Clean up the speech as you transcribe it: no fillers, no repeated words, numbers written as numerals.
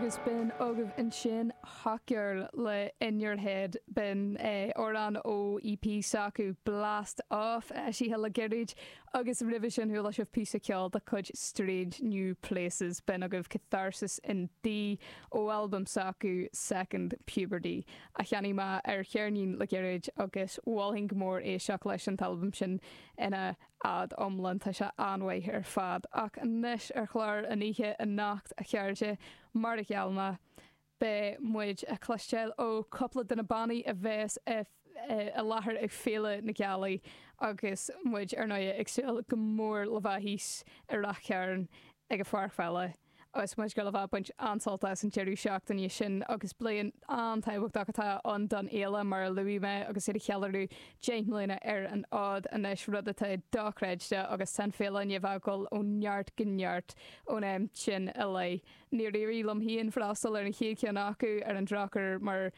Agus b'in agaibh ansin Hot Girl le In Your Head, b'in amhrán ó EP s'acu, Blast Off, eisithe le gairid, agus roimhe sin chuala sibh píosa ceoil de chuid Strange New Places, b'in agaibh Catharsis in D ó albam s'acu, Second Puberty, a cheannaigh mé ar cheirnín le gairid agus mholfainn go mór éisteacht leis an t-albam sin ina fhad iomlán, tá sé an-mhaith ar fad. Ach anois ar chlár an oíche anocht, a chairde, mar a gheall mé, beidh muid a' cloisteáil ó cúpla de na bannaí a bheas i láthair ag Féile na Gealaí agus muid, ar ndóigh, ag súil go mór le bheith thíos i Rath Chairn ag an pháirc pheile. Agus muid ag gabháil a bheith ag baint an-sult as an deireadh seachtaine sin agus bliain an-tábhachtach atá ann don fhéile mar a luaigh mé agus iad ag ceiliúradh 10 mbliana ar an fhód anois, rud atá dochreidte agus tá an féile i ndiaidh a bheith ag dul ó neart go neart ón am sin i leith. Níor éirigh liom féin freastal ar an chéad cheann acu ar an drochuair mar.